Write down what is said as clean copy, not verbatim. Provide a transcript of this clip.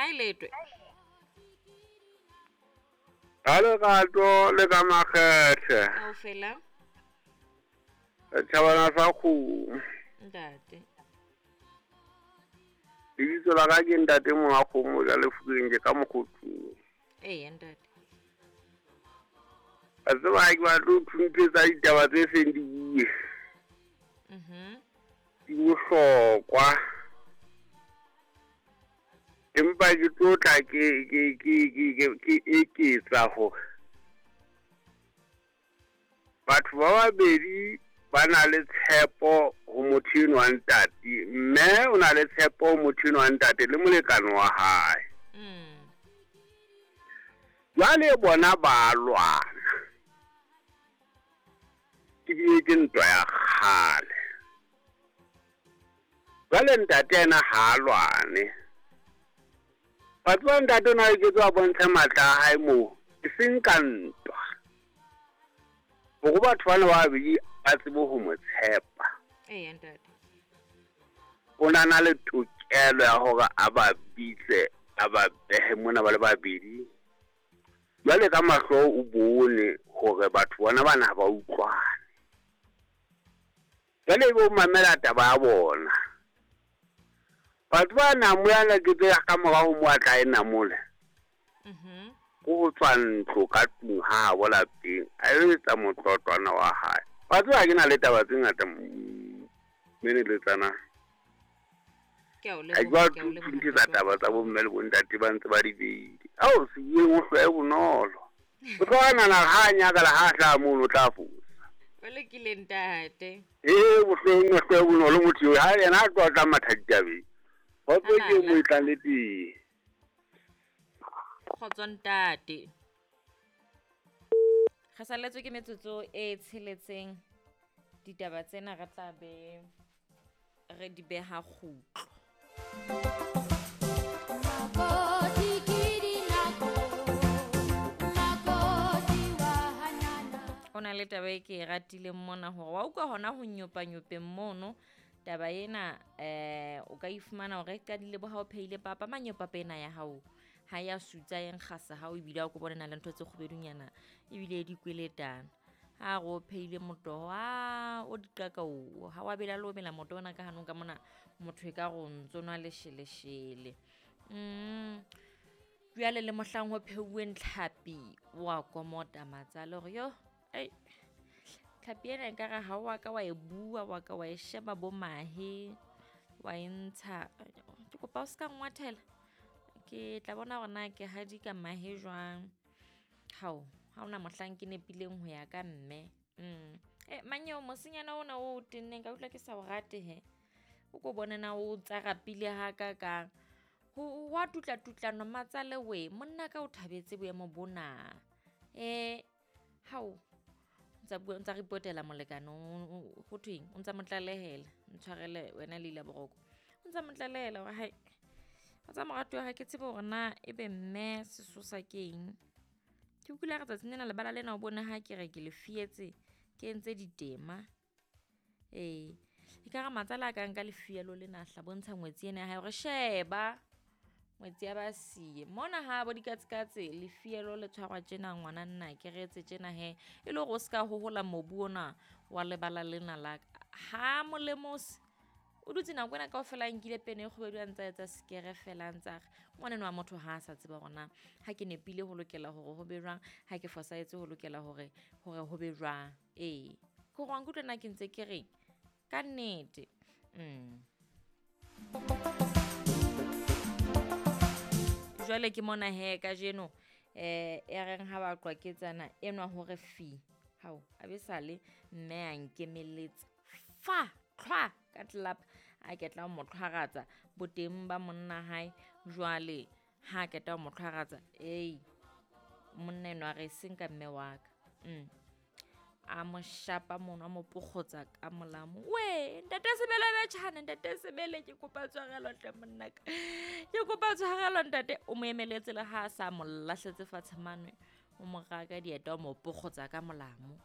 Ha e letwe. Ka lerato le ka makgethe. Kaofela. Setjhabana sa kgomo. Ntate. Lebitso la ka ke ntate monga kgomo ja lefokeng ke ka mokgothung. Eya ntate. A tseba ha ke batle ho thunthetsa ditaba tse seng di bue. Di bohlokwa. Empa ke tlo tla ke ke ke ke ke eketsa hore batho ba babedi ba na le tshepo ho motho enwa wa ntate, mme o na le tshepo ho motho enwa wa ntate le molekane wa hae. Jwale bona ba lwana. Ebile ke ntwa ya kgale. Jwale ntate yena ha a lwane. Wa tseba ntate o na loketse a bontshe matla a hae moo, e seng ka ntwa. Hore batho bana ba babedi ba tsebe ho mo tshepa. Eya ntate. O na na le tokelo ya hore a ba bitse, a ba behe mona ba le babedi. Jwale ka mahlo o bone hore batho bona bana ha ba utlwane. Jwale ebe o mamela taba ya bona. Batho ba namo ya loketse ka mora ho mo a tla e namole. Ko ho tswa ntlo ka tlung ha habo lapeng, a yo etsa motlotlwana wa hae. Wa tseba ke na le taba tse ngata meneletsana. Ke a o Ha ke leboha, ba ke a o leboha thunthetsa ntate wa taba tsa bomme le bontate ba ntse ba di beile. Ao sebueng o hlwae bonolo. O tlo nahana ha a nyakala ha a hlaha mono o tla fosa. O lokile ntate. Ee, bohlong o hlwae bonolo motho eo. Ha yena a tloha tla matha ditabeng. Kgotso ke mo e tlang le teng. Kgotso ntate. Re saletswe ke metsotso e tsheletseng ditaba tsena re tla be re di beha kgutlo. O na le taba e ke e ratileng mona hore wa utlwa hona ho nyopanyopeng mono taba ena o ka ifumana hore e qadile bo ha o phehile papa manyopapa ena ya hao ha ya sutsa e nkgasa ha o ebile ha o ko bone na le ntho tse kgubedunyana ebile di kweletana. Ha re o phehile motoho a o diqaka o ha wa bela le o mela motoho ona ka hanong ka mona motho e ka re o ntso nwa lesheleshele. Jwale le mohlang ho pheuweng tlhapi wa komota matsale hore yo ai tlhapi ena ekare ha wa ka wa e bua wa ka wa e sheba bo mahe wa e ntsha. Ke kopa o ska nngwathela ke tla bona hore na ke hadika mahe jwang. Hao ha ona mohlang ke nepileng ho ya ka mme. Manyeo mosenyana ona o tenneng ka utlwa ke sa o rate he. O ko bone na o tsarapile ha ka kang. Ho wa tutla tutlano matsale we monna ka o thabetse boemo bona. Hao ntsa bua ntsa reportela molekane ho thweng o ntsa mo tlalehela ntshwarele wena Leila Boroko. O ntsa mo tlalehela hore hai o tsa moratuwa ha ke tsebe hore na ebe mme sesosa keng. Ke utlwile re tsatsing lena lebala lena o bone ha ke re ke le fietse ke entse ditema. E ka re matsala a ka nka lefielo lena hla bontsha ngwetsi ena ya hae hore sheba ngwetsi ya ba siye. Mona ha bo dikatsekatse lefielo le tshwarwa tjena ngwana nna ke re etse tjena he e le hore o ska hohola mobu ona wa lebala lena la ka. Ha molemose o dutse nako ena kaofela a nkile pene e kgubedu a ntsa etsa sekere fela a ntsa re ngwaneno wa motho ha a sa tseba hore na ha ke nepile ho lokela hore ho be jwang, ha ke fosahetse ho lokela hore ho be jwang. Ke hore wa nkutlwa na ke ntse ke reng ka nnete. Jwale ke mona he kajeno e reng ha ba qwaketsana enwa hore fi hao a be sale mme a nkemeletse fa tlhwa ka tlelapa a ketla ho mo tlhwaratsa boteng ba monna hae. Jwale ha keta ho mo tlhwaratsa ei monna enwa re seng ka mme wa ka. A mo shapa mono a mo pokgotsa ka molamo. We ntate Sebele betjhane ntate Sebele ke kopa tshwarelo hle monna ka. Ke kopa tshwarelo ntate. O mo emeletse le ha a sa mo lahletse fatshe mane o mo raka dieta o mo pokgotsa ka molamo.